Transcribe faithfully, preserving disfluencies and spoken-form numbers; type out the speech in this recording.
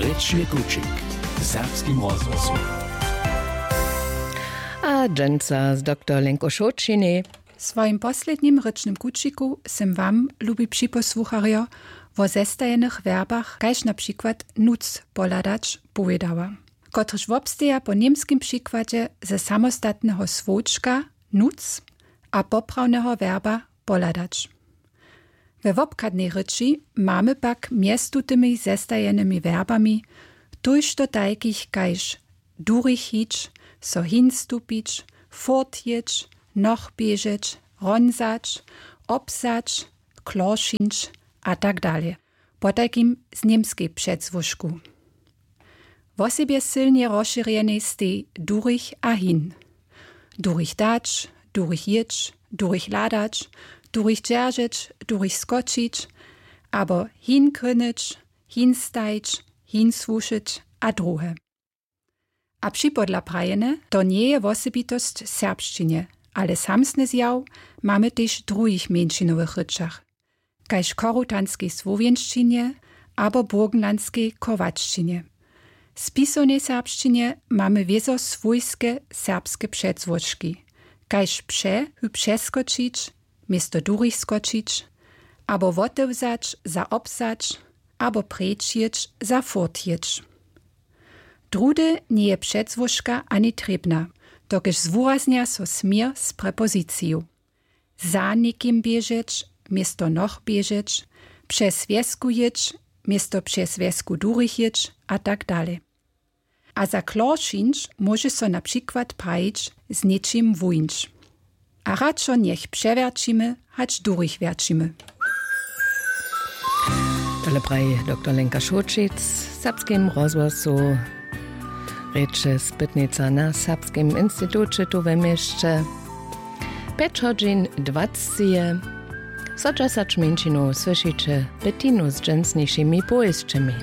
Rěčny kućik w serbskim rozhłosu. A dźensa z doktor Lenko Šołćinej. W swojim poslednim rěčnym kućiku sym wam, lubi připosłucharjo, wo zestajenych werbach, kaž na přikład nuc pohladać, powědała, kotryž wobsteja po němskim přikładźe ze samostatneho słowčka nuc a poprawneho werba pohladać. We wobchadnej rěči mamy pak mjez tutymi zestajenymi werbami tójšto tajkich kaž durich hić, so hinstupić, furt jěć, noch běžeć, hronzać, obsać, kloršinć a tak dalej. Potajkim z němskej předzwóžku. Wosebje sylnje rozšěrjenej stej durich a hin. Durich dać, durich jěć, durich hladać, durich dźeržeć, durich skočić, abo hin krynyć, hin stajić, hin słušyć a druhe. A připodla prajene, to njeje wosebitosć serbšćinje, ale samsny zjaw mamy tež w druhich mjeńšinowych rěčach, kaž chorutanskej słowjenšćinje abo burgenlandskej chorwaćšćinje. W spisownej serbšćinje mamy wězo swójske serbske předzwóžki, kaž pře hy přeskočić město durich skočić, abo wotewzać za obsać, abo preč jěć za furt jěć. Druhdy njeje předzwóžka ani trěbna, dokelž zwuraznja so směr z prepoziciju. Za někim běžeć město noch běžeć, přez wjesku jěć město přez wjesku durich jěć a tak dalej. A za kloršinć móže so na přikład prajić z něčim wuńć. A radšo njech přewjerćimy, hač durich wjerćimy. Tole praji doktor Lenka Šołćic w Serbskim rozhłosu. Rěče spytnica na Serbskim instituće tu we měsće. Pjeć hodźin dwacci je. Zo dźesać mjeńšinow słyšiće Bettinu z dźensnišimi powěsćemi.